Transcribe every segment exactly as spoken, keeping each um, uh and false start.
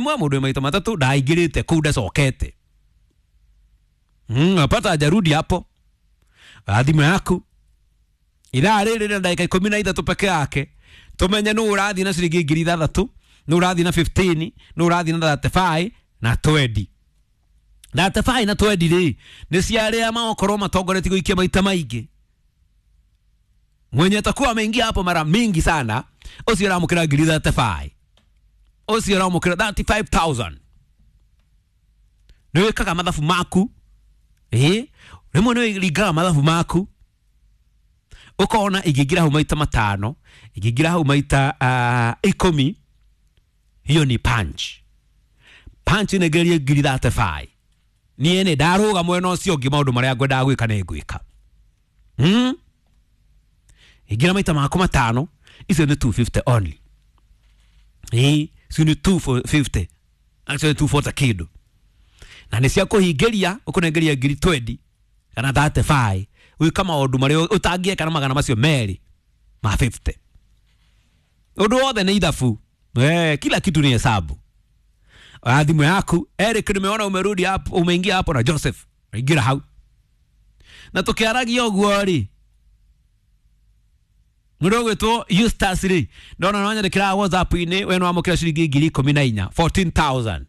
rimwe, mundu wi maita matatu ndaingirite kuu ndacokete. Mm, apata hajarudi hapo. Thimũ yaku ithaa rĩrĩ na ndagĩka ikũmi na ithatũ peke yake tumenye nũ ũrathiĩ na ciringi ngiri ithathatũ, nũ ũrathiĩ na fifteen, nũ ũrathiĩ na thirty-five na twenty. thirty-five na twenty rĩ nĩ cia arĩa magokorwo matongoretie gũikia maita maingĩ. Mwenye atakuwa ameingia hapo mara mingi sana ũcio aramũkĩra ngiri thirty-five, ũcio aramũkĩra thirty-five thousand. Nĩ wĩkaga mathabu maku, ĩ rĩmwe nĩ wĩringaga mathabu maku ukona ingĩingĩra hau maita matano, ingĩingĩra hau maita uh, ikũmi, hiyo ni punch. Punch inengerie ngiri thirty-five. Niĩ nĩ ndarũga mwena ũcio ũngĩ maũndũ marĩa ngwendaga gwĩka nĩ ngwĩka. Hmm? Ingĩra maita maku matano, icio nĩ two fifty only. Ĩ, icio nĩ two fifty. Actually two forty kĩndũ. Na nĩ cia kũhingĩria, ũkũnengeria ngiri twenty kana thirty-five. Gwĩka maũndũ marĩa ũtangĩeka na magana macio merĩ ma fifty. Ũndũ wothe nĩ ithabu. Eh, kila kitu ni hesabu. Thimũ yaku Eric, nimeona umerudi hapo, umeingia hapo na Joseph. Ingira hau. Na tukiaragia ũguo rĩ, mũndũ ũgwĩtwo Eustace rĩ, ndona no nyandĩkĩra WhatsApp-inĩ, we nĩ wamũkĩra ciringi ngiri ikũmi na inya, fourteen thousand.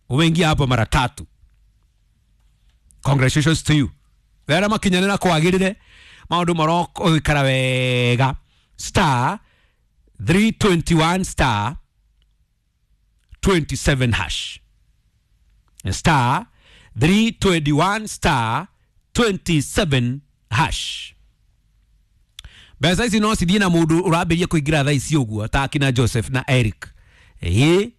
Umeingia hapo mara tatu. Congratulations to you. Wera makinyanĩra kwagĩrĩre maũndũ marogũikara wega. Star three twenty-one star twenty-seven hash. Star three twenty-one star twenty-seven hash. Mbeca ici no cithiĩ na mũndũ ũrambĩrĩria kũingĩra thaa ici ũguo ta akina Joseph na Eric. Ĩĩ,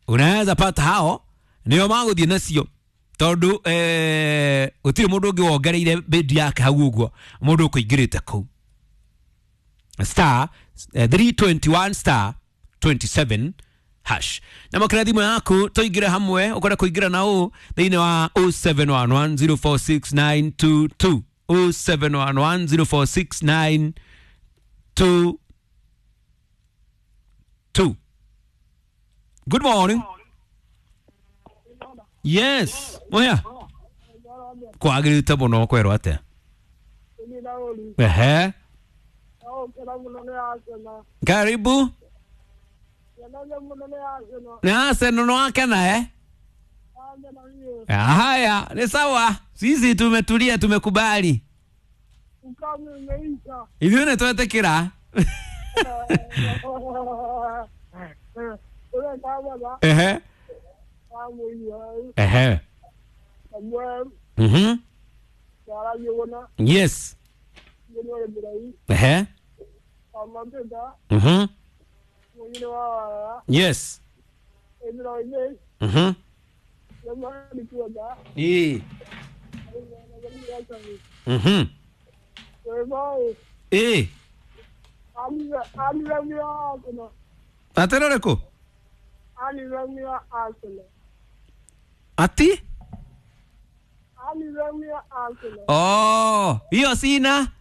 unaweza pata hao nĩo magũthiĩ nacio tondu eh gũtirĩ mũndũ ũngĩ wongereire bid yake hau ũguo mũndũ ũkũingĩrĩte kũu. Star three twenty-one star twenty-seven hash. Na makira thimũ yaku tũingĩre hamwe, ũkwenda kũingĩra na ũ thĩinĩ wa oh seven one one zero four six nine two two, oh seven one one zero four six nine two two. Good morning. Yes, moya. Kwagĩrĩte mũno kwerwo atĩa? Ehe. Karibu. Ni Arsenal no wakena eh? Haya, ni sawa. Sisi tumetulia, tumekubali. Ithuĩ nĩ twetĩkĩra. Ehe. Ehe. Mhm. Yes. Ehe. Mhm. Yes. Mhm. Eh. Mhm. Eh. Ateroreko? Ati? Oh, hiyo sina.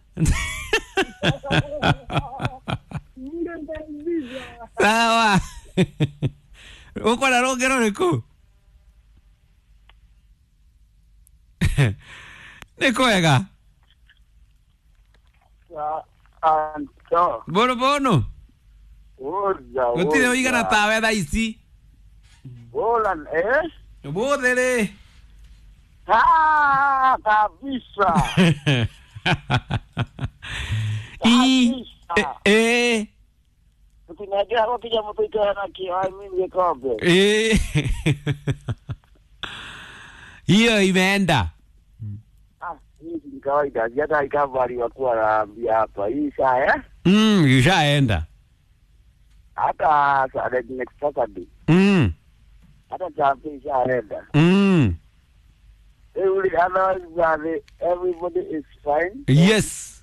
Sawa. Uko na rũngero rĩkũ? Nĩ kwega? Bono bono. Gũtirĩ ũigana tawe thaa ici. Bolan eh? Ũmũthĩ rĩ? Ah, kabisa. I eh Tukinajua hapo kija mtu na kiwa mimi gikombe. Eh. Hiyo imeenda. Ah, hii ni kawaida. Hata ikavali wakuwa naambia hapa. Hii saa eh? Mm, ishaenda. Hata saa next Saturday. Mm. Hata champi ishaenda. Mm. Otherwise, everybody is fine. Yes.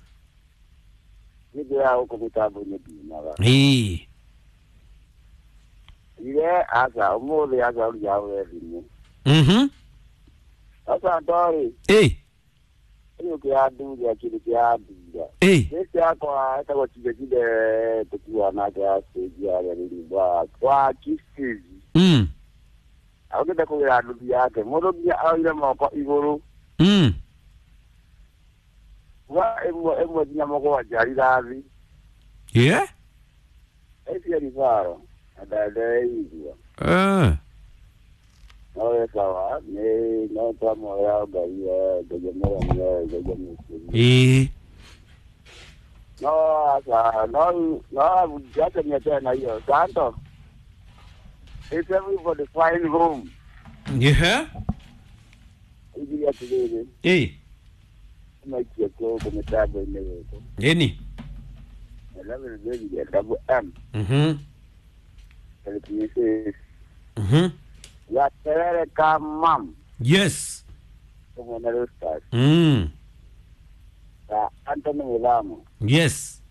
Ndio huko mtambo nyingine. Eh. Ile asa umuthi asa ujawe thimu. Mhm. Asa ndori. Eh. Iyo kia nduga kile kia nduga. Eh. Sisi yakwa etagwo chige chige tukiwa nake ya stage ya rĩrĩ kwa kisizi. Okite kũgĩra nduthi yake mũndũ nginya aoire moko igũrũ. Mm. Wa ĩmwe ĩmwe nginya mũgwanja rithathi. Yeah. Icio ribaro na ndandeigua. Eh. No wĩ sawa nĩ no twamoya Ngai Ngai mũremie Ngai mũkũri. Ĩĩ. No asa no no acha niachane na hiyo Santo. It's everybody flying home. Yeah. Igi atĩrĩrĩ Ĩĩ. maikie gũkũ mĩtambo-inĩ gũkũ. Ĩni. Eleven baby double M. Mhm. Thirty six. Mhm. Ya terere ka mam. Yes. Kumwena Roosters. Mm. Ya Anthony Mulamo. Yes.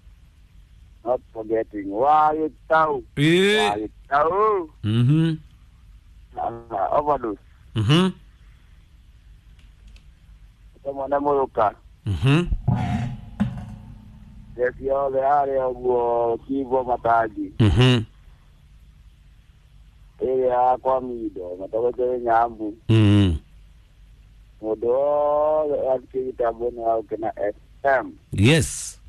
Not forgetting Wagĩtau. Ĩĩ. Wagĩtau. Mhm. Uh, overdose. Mhm. Tumwona Mũrũka. Mhm. Jesi othe harĩa ũguo Kibo Matangi. Mhm. Ĩrĩa yakwa Mindo matogete Nyambu. Mm. Mũndũ wothe athiĩ gĩtambo-inĩ wa Gũkena F M. Yes.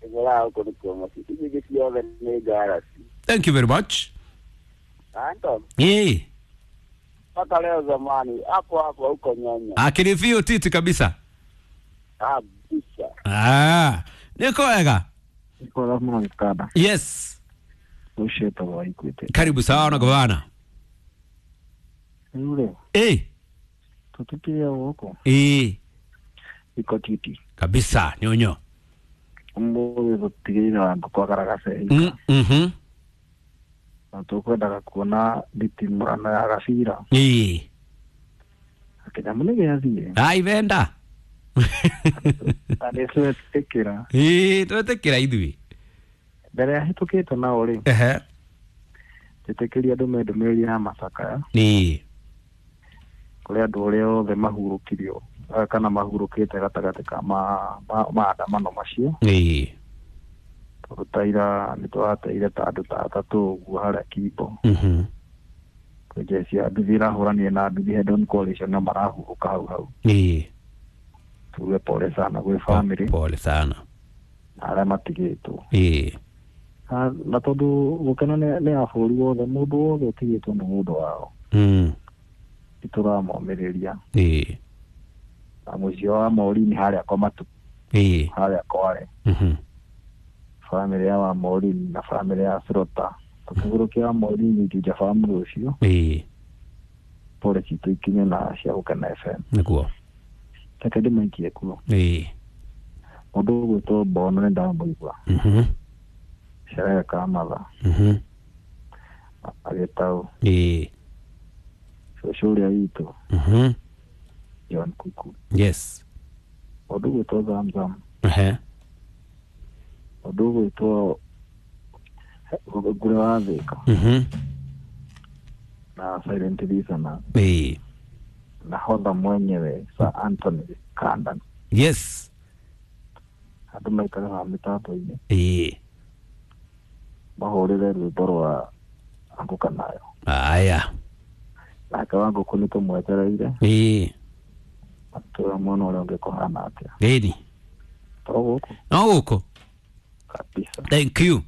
Ĩgũraga gũkũ nĩkuo mũciĩ. Ici ingĩ ciothe nĩ ngarasi. Thank you very much. Anton, Ĩĩ. mpaka leo zamani hapo hapo huko Nyanya. Akili fiu titi kabisa. Kabisa. Ah, niko wega. Niko mũno gĩkanda. Yes. Ũcio wĩtagwo Waikuĩte. Karibu sana gavana. Rĩu rĩ, Eh. tũtũkire gũkũ Eh. ikotiti. Kabisa nyonyo. Ũmũthĩ tũtigĩrĩre wa ngũkũ agaragace. Mm mhm. Na tũkwendaga kuona nditimũrano ya gabira. Eh. Kĩnyamũ nĩ gĩathiĩ. Ai venda. Na nĩ twetĩkĩra. Eh, twetekera ithuĩ. Mbere ya hĩtũkĩte nao rĩ, Ehe. njĩtĩkĩria ndũme ndũmĩrĩri ya macakaya Ĩĩ. kũrĩ andũ arĩa othe mahurũkirio eh, kana mahurũkĩte gatagatĩ ka ma- ma- maandamano macio. Ĩĩ. Tondũ ta ira nĩ tũrateire ta andũ ta atatũ ũguo harĩa Kimbo. Mhm. Kwĩ jeshi ya nduthi ĩrahũranire na nduthi head on coalition na marahurũka hau hau. Ĩĩ. Tuge pole sana gwĩ family Pole sana. na arĩa matigĩtwo. Ĩĩ. Na na tondũ gũkena nĩ nĩ ya bũrũri wothe mũndũ wothe ũtigĩtwo nĩ mũndũ wao Mm. nĩ tũramomĩrĩria. Ĩĩ. Na mũciĩ wa Maureen harĩa kwa Matu Ĩĩ. harĩa Kware Mhm. family ya wa Maureen na family ya Sirota tũkĩgũrũkia wa Maureen Juja family ũcio Ĩĩ. pole citũ ikinye na cia Gũkena F M. Nĩguo. Reke ndĩmaikie kuo. Ĩĩ. Mũndũ ũgwĩtwo Mbono nĩ ndamũigua. Mhm. Sherehe Kamatha Mhm. agĩtaũ Ĩĩ. cũcũ ũrĩa witũ Mhm. John Kuku. Yes. Mũndũ ũgwĩtwo Zamzam. Ehe. Mũndũ ũgwĩtwo Ngũrĩ wa Thĩka Mhm. na Silent Listener Ĩĩ. nahodha mwenyewe Sir Anthony Kandan. Yes. Andũ maikare haha mĩtambo-inĩ Ĩĩ. mahũrĩre rwĩmbo rwa Anguka Nayo. Aya. Nake wa ngũkũ nĩ tũmwetereire Ĩĩ. atũra mwena ũrĩa ũngĩ kũhana atĩa. Ĩni. To gũkũ No gũkũ. kabisa. Thank you.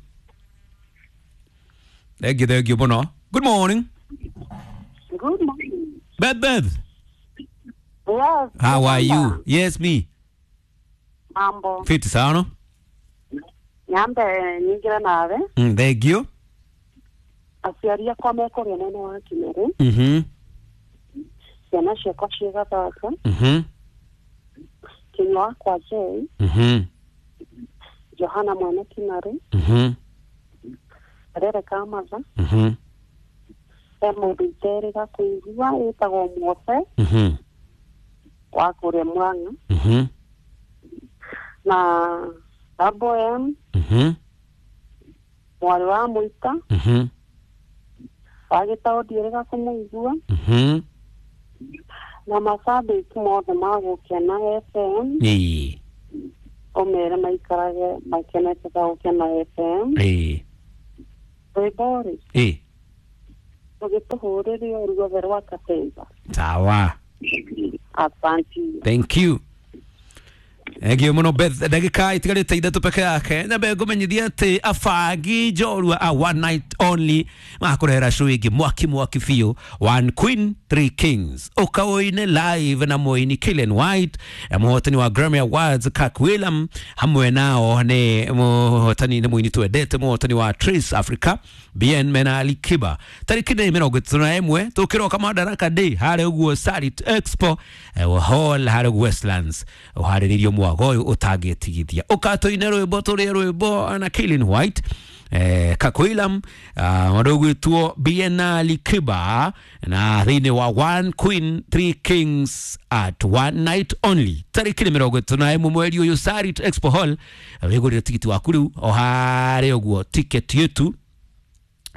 Thank you, thank you mũno. Good morning. Good morning. Beth Beth. Yes. How are you? Yes, me. Mambo. Fit sana. Nyambe nyingira nawe. Mm, thank you. Aciari akwa mekũrĩa mwena wa Kimerĩ. Mhm. Ciana ciakwa ciĩ Gathaka. Mhm. Kinyua wakwa Jay. Mhm. Johana mwene Kimarĩ. Mhm. Karere ka Matha. Mhm. He mũndũ iterĩga kũigua ĩtagwo Muobe Mhm. wa kũrĩa Murang'a. Mhm. Na Double M Mhm. mwarĩ wa Mũita Mhm. wa Gĩtaũ ndiĩrĩga kũmũigua. Mhm. Na macambĩki mothe ma Gũkena F M. Ĩĩ. Ũmere maikarage makenete ta Gũkena F M. Ĩĩ. Rwĩmbo rĩ Ĩĩ. Tũgĩtũhũrĩre ruothe rwa Katemba. Sawa. Asante. Thank you. Egio muno Beth, ndagika itigarite ithatu peke yake nyambe ngumenyithia ati abangi njorua a one night only makurehera show ingi mwaki mwaki biũ, One Queen Three Kings, ukawoine live na muini Killian White, na muhotani wa Grammy Awards Kirk Whelan, hamwe nao ni muhotani ni muini twendete muhotani wa Trace Africa Bien mena Ali Kiba tariki ni mirongo itatu na ĩmwe tukiroka Madaraka Day harĩa ũguo Sarit Expo eh, Hall harĩa ũguo Westlands uharĩrĩrio mwago ũyũ ũtangĩtigithia ũkatũine rwĩmbo tũrĩe rwĩmbo na Killian White eh, Kakuilam uh, ũgwĩtwo Bien Ali Kiba na thĩinĩ wa One Queen Three Kings at one night only tariki ni mirongo ĩtatũ na ĩmwe mweri ũyũ Sarit Expo Hall. Wĩgũrĩre tigiti waku rĩu o harĩa ũguo ticket yetu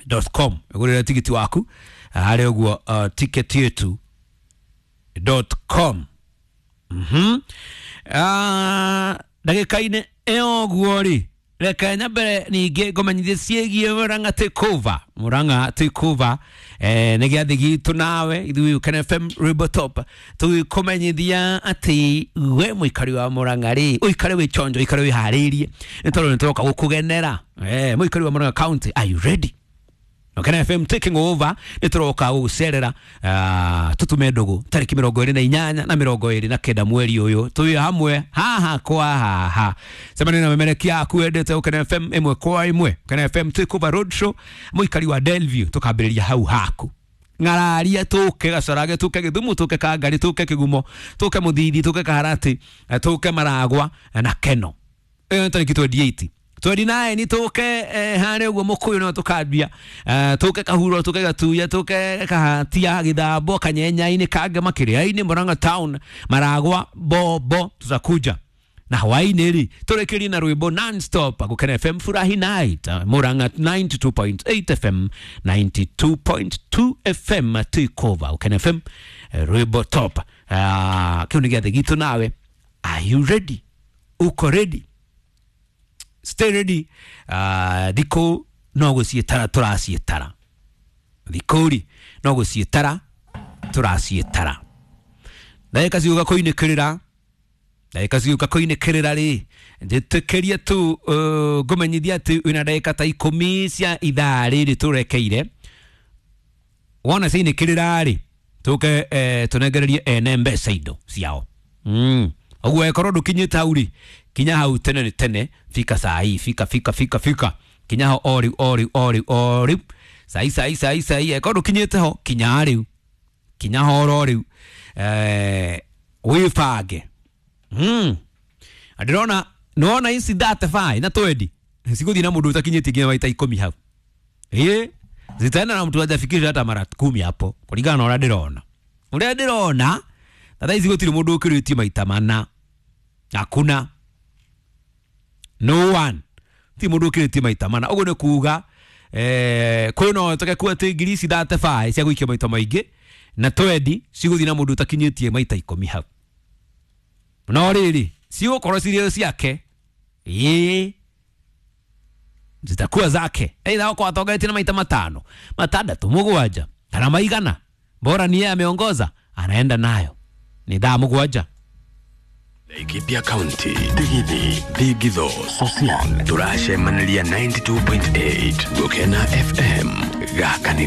dot com, wĩgũrĩre tigiti waku harĩa ũguo uh, ticket yetu dot com. Mhm. Ah, ndagĩka-inĩ ĩyo ũguo rĩ, reke nyambere ningĩ ngũmenyithie ciĩgiĩ Murang'a Takeover. Murang'a Takeover eh, nĩ gĩathĩ gitũ nawe ithuĩ Ũkene F M Rwĩmbo Top tũgĩkũmenyithia atĩ we mũikari wa Murang'a rĩ, ũikare wĩ chonjo, ũikare wĩharĩirie nĩ tondũ nĩ tũroka gũkũgenera. Eh, mũikari wa Murang'a County, are you ready? Ũkene F M taking over nĩ tũroka gũgũcerera uh, tutume ndũgũ tarĩki mĩrongo ĩrĩ na inyanya na mĩrongo ĩrĩ na kenda mweri ũyũ tũrĩ hamwe haha kwa haha cemania na memerekia aku wendete Ũkene F M ĩmwe kwa ĩmwe. Ũkene F M Takeover Roadshow mũikari wa Delview tũkambĩrĩria hau haku ng'araria tũke Gacarage tũke Gĩthumo tũke Kangari tũke Kĩgumo tũke Mũthithi tũke Kaharati tũke Maragwa na Keno. Ĩyo nĩ tarĩki twenty-eight twenty-nine tũke eh, harĩa ũguo Mũkũyũ no tũkambia eh, tũke Kahuro tũke Gatuya tũke Kahatia Gĩthambo Kanyenyainĩ Kangema Kĩrĩainĩ Murang'a Town Maragwa Bobo tutakuja na hwainĩ rĩ tũrĩkĩrie na rwĩmbo non-stop Gũkena F M Furahi Night Murang'a ninety-two point eight F M ninety-two point two F M Takeover Gũkena F M eh, rwĩmbo top. Ah, kĩu nĩ gĩathĩ gitũ nawe, are you ready? Uko ready? Stay ready. Uh, thikũ no gũciĩtara tũraciĩtara, thikũ rĩ no gũciĩtara tũraciĩtara, ndagĩka ciũka kũinĩkĩrĩra, ndagĩka ciũka kũinĩkĩrĩra rĩ njĩtĩkĩrie tu uh, ngũmenyithia atĩ wĩna ndagĩka ta ikũmi cia ithaa rĩrĩ tũrekeire wona ciinĩkĩrĩra rĩ tũke eh, tũnengererie ene mbeca indo ciao. Mm. Ũguo ĩkorwo ndũkinyĩte hau rĩ, kinya hau tene nĩ tene, fika saa hii, fika fika fika fika kinya ho o rĩu o rĩu o rĩu o rĩu sai sai sai sai ĩkorwo ndũkinyĩte ho kinya rĩu kinya ho oro rĩu eh, wĩbange. Mm. Ndĩrona nĩwona ici thirty-five na twenty cigũthiĩ na mũndũ ũtakinyĩtie nginya maita ikũmi hau, ĩ zitaenda na mtu hajafikisha hata mara kumi hapo kũringana na ũrĩa ndĩrona ũrĩa ndĩrona na thaa ici gũtirĩ mũndũ ũkĩrĩtie maita mana, hakuna, no one ti mũndũ ũkĩrĩtie maita mana. Ũguo nĩ kuga eh, kwĩ no tũke kuo atĩ ngiri ici thirty-five cia gũikia maita maingĩ na twenty cigũthiĩ na mũndũ ũtakinyĩtie maita ikũmi hau, no rĩrĩ cigũkorwo cirĩ ciake, ĩĩ zitakuwa zake, aidha wako atongoretie na maita matano matandatũ mũgwanja kana maigana, bora ni yeye ameongoza anaenda nayo. Ni thaa mũgwanja. Laikipia County, Digithi, Digitho, Sosian, turacemaniria ninety-two point eight Gũkena F M gaka nĩ